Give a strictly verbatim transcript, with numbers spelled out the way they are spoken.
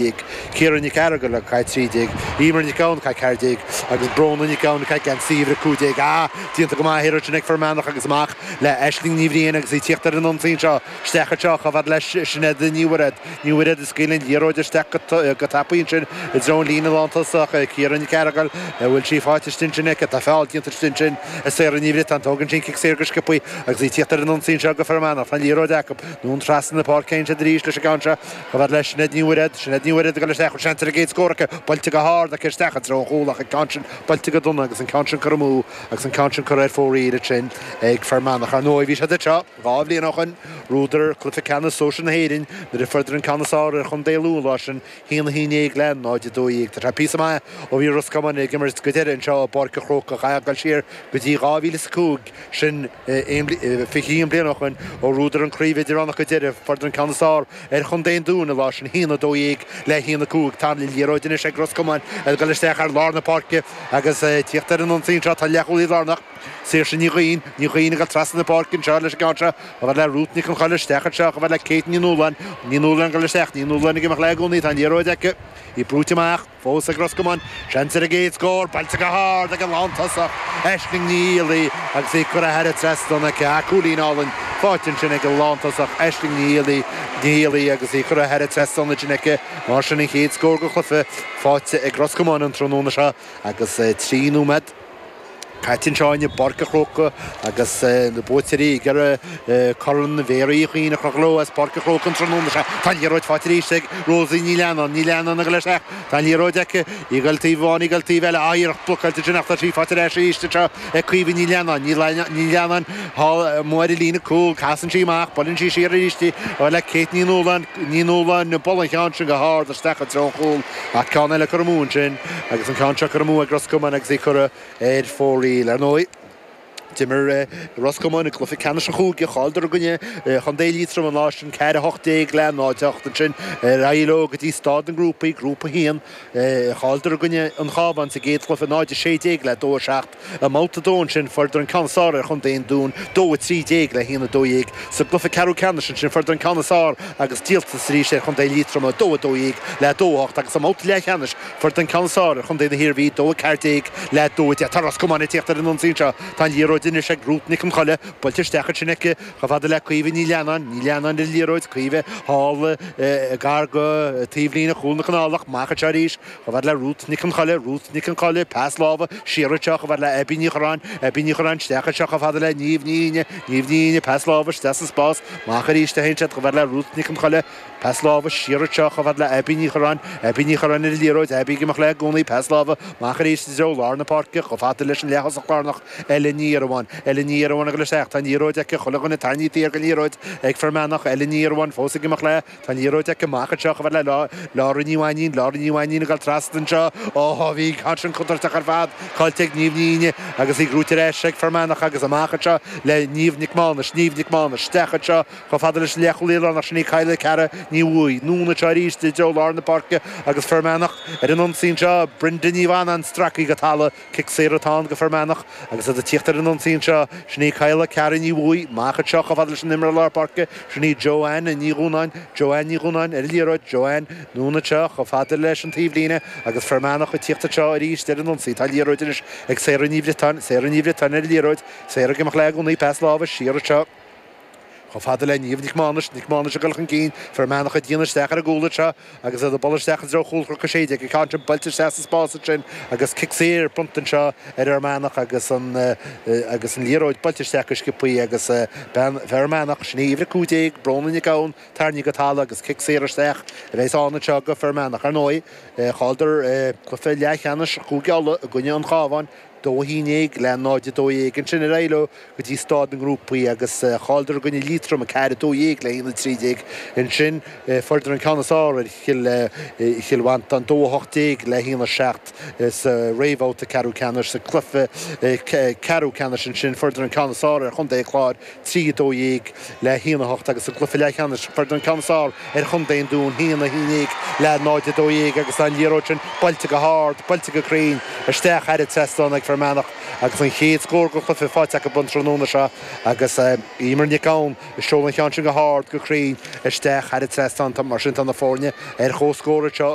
Ciara Nic Fhearghail ag caitheamh trí déag, Emer Nic Gabhann ag caitheamh ceathair déag agus Bróna Nic Gabhann ag caitheamh geansaí uimhir a cúig déag. Ah, déanta go maith thiar ansin ag Fear Manach agus amach le Aisling Ní Bhriain agus í ag tíocht ar an ionsaí anseo. Isteach anseo chomh fada le Sinéad Ní Mhuiread. Ní Mhuiread ag scaoileadh an liathróid isteach go tapaidh ansin i dtreo an líne lántosach. Ciara Nic Fhearghail, an bhfuil sí faighte istigh ansin aici? Tá feall déanta istigh ansin ag Sarah Ní Bhriotáin. Tógann sí an cic saor go sciobthaí agus í ag tíocht ar an ionsaí anseo go Fear Manach. Tá an liathróid acu. Anonn trasna na páirce ansin arís leis an gceann seo. Chomh fada le Sinéad Ní Mhuiread. Sinéad Ní Mhuiread ag dul isteach, seans ar an gcéad scór aici. Buailte go hard aici isteach i dtreo an chúil ach an ceann sin buailte go dona agus an ceann sin curtha amú agus an ceann sin curtha ar fóraoil ansin ag Fear Manach. Ar ndóigh, bhí siad anseo dhá bhliain ó shoin, bhuadar cluiche ceannais sóisir na hÉireann nuair a fuaireadar an ceann is fearr ar Chontae Lú an lá sin, haon a haon déag le náid a dó dhéag. Tá sé píosa maith ó bhí Ros Comáin ag imirt go deireadh anseo i bPáirc an Chrócaigh. Caithfidh dul siar go dtí dhá mhíle is a cúig, sin fiche haon bliain ó shoin, ó bhuadar an chraobh idirmheánach go deireadh. Fuaireadar an ceann is fearr ar Chontae an Dúin an lá sin, haon a dó dhéag le haon a cúig. Tá an liathróid anois ag Ros Comáin ag dul isteach ar lár na páirce agus tíocht ar an ionsaí anseo. Tá leathchúlaí lárnach, Saoirse Ní Dhuinn, Ní Dhuinn ag dul trasna na páirce anseo leis an gceann seo, chomh fada le Ruth Nic Con Choille isteach anseo, chomh fada le Kate Ní Nualláin, Ní Nualláin ag dul isteach, Ní Nualláin ag imeacht léi i gcónaí, tá an liathróid aici, í brúite amach fós ag Ros Comáin, seans ar an gcéad scór, buailte go hard ag an lántosach, Aisling Ní Fhiallaigh agus í curtha thar an trasnán aici, ah cúilín álainn faighte ansin ag an lántosach, Aisling Ní Fhiallaigh, Ní Fhiallaigh agus í curtha thar an trasnán ansin aici, mar sin an chéad scór den chluiche faighte ag Ros Comáin an tráthnóna seo agus trí nóiméad caite anseo i bPáirc an Chrócaigh agus na buaiteoirí ag iarraidh Corn Mhéaraí Uí Chuinn a chrochadh leo as Páirc an Chrócaigh an tráthnóna seo. Tá an liathróid faighte arís ag Rosie Ní Leannáin. Ní Leannáin ag dul isteach. Tá an liathróid aici. Í ag dul taobh amháin, í ag dul taobh eile. Á, iarracht blocáilte ansin ach tá sí faighte ar ais arís anseo ag Caoimhe Ní Leannáin. Ní Leannáin thall amuigh ar an líne cúil. Casann sí amach. Buaileann sí siar arís í le Kate Ní Nualláin. Ní Nualláin ag bualadh an cheann sin go hard isteach i dtreo an chúil ach ceann eile curtha amú ansin agus an ceann seo curtha amú ag Ros Comáin agus í curtha ar fóraoil. Ar ndóigh, d'imir Ros Comáin i gcluiche ceannais an chúige, chailleadar i gcoinne Chontae Liatroma an lá sin, ceathair a hocht déag le náid a hocht. Ansin ar aghaidh leo go dtí staid na ngrúpaí, Grúpa a haon, chailleadar i gcoinne an Chabháin sa gcéad chluiche, náid a sé déag le dó a seacht. I mbabhta a dó ansin, fuaireadar an ceann is fearr ar Chontae an Dúin, dó a trí déag le haon a dó dhéag. Sa gcluiche ceathrú ceannais ansin, fuaireadar an ceann is fearr agus díoltas arís ar Chontae Liatroma, dó a dó dhéag le dó a hocht agus i mbabhta leathcheannais, Fuaireadar an ceann is fearr ar chontae na hIarmhí, dó a ceathair déag le dó a deich. Tá Ros Comáin ag tíocht ar an ionsaí anseo. Tá an liathróid anois ag Ruth Nic Con Choille. Buailte isteach ansin aici chomh fada le Caoimhe Ní Leannáin. Ní Leannáin ar an liathróid. Caoimhe thall gar do taobhlíne chúl na Conálach. Amach anseo arís chomh fada le Ruth Nic Con Choille. Ruth Nic Con Choille, pas láimhe siar anseo chomh fada le Abbie Ní Churráin. Abbie Ní Churráin isteach anseo chomh fada le Niamh Ní Fhíne. Niamh Ní Fhíne, pas láimhe isteach sa spás. Amach arís a théann siad chomh fada le Ruth Nic Con Choille. Pas láimhe siar anseo chomh fada le Abbie Ní Churráin. Abbie Ní Churráin ar an liathróid. Abbie ag imeacht léi i gcónaí. Pas láimhe amach arís i dtreo lár na páirce chomh fada leis an leath-thosach lárnach Ellen Ní Iarmháin. Ellen Ní Iarmháin ag dul isteach. Tá an liathróid aici. Chuile dhuine tarraingthe thiar den liathróid ag Fear Manach. Ellen Ní Iarmháin fós ag imeacht léi. Tá an liathróid aici amach anseo chomh fada le Laura Ní Mhainín. Laura Ní Mhainín ag dul trasna anseo. Ó, bhí an ceann sin contúirteach ar fad. Caillte ag Niamh Ní Fhíne agus í gnóite ar ais ag Fear Manach agus amach anseo le Niamh Nic Mánais. Niamh Nic Mánais isteach anseo Chomh fada leis an leathchúlaí lárnach sin í Kyla Ceara Ní Bhuaidh. Anonn anseo arís i dtreo lár na páirce agus Fear Manach ar an ionsaí anseo. Brenda Ní Mhanainn stractha go talamh. Cic saor atá ann go Fear Manach agus iad ag tíocht ar an ionsaí anseo. Sin í Kyla Ceara Ní Bhuaidh. Amach anseo chomh fada leis an imreoir lár páirce. Sin í Joanne Ní Dhúnáin. Joanne Ní Dhúnáin ar an liathróid. Joanne anonn anseo chomh fada leis an taobhlíne agus Fear Manach ag tíocht anseo arís ar an ionsaí. Tá an liathróid anois ag Sarah Ní Bhriotáin. Sarah Ní Bhriotáin ar an liathróid. Sarah ag imeacht léi i gcónaí. Pas láimhe siar anseo. Chomh fada le Niamh Nic Mánais, Nic Mánais ag dul chun cinn, Fear Manach ag déanamh isteach ar an gcúl anseo agus iad ag bualadh isteach i dtreo chúl Chnoc a Sé Déag, an ceann sin buailte isteach sa spás ansin agus cic saor bronnta anseo ar Fhear Manach agus an agus an liathróid buailte isteach go sciobthaí agus bean Fear Manach, sin í uimhir a cúig déag, Bróna Nic Gabhann, tarraingthe go talamh agus cic saor isteach a bheas ann anseo go Fear Manach. Ar ndóigh, chailleadar cluiche leathcheannais Chúige Uladh i gcoinne an Chabháin, dó a haon déag le náid a dó dhéag. Ansin ar aghaidh leo go dtí staid na ngrúpaí agus chailleadar i gcoinne Liatroma, ceathair a dó dhéag le haon a trí déag. Ansin fuaireadar an ceann is fearr ar Chill Chill Mhantáin, dó a hocht déag le haon a seacht sa réamhbhabhta ceathrú ceannais. Sa cluiche ceathrú ceannais ansin fuaireadar an ceann is fearr ar Chontae an Chláir, trí a dó dhéag le haon a hocht agus sa gcluiche leathcheannais fuaireadar an ceann is fearr ar Chontae an Dúin, haon a haon déag le náid a dó dhéag agus tá an liathróid sin buailte go hard, buailte go cruinn isteach thar an trasnán ag Fear Manach agus an chéad scór den chluiche faighte acu an tráthnóna seo agus Emer Nic Gabhann ag seoladh an ceann sin go hard go cruinn isteach thar an trasnán mar sin tá na foirne ar comhscór seo.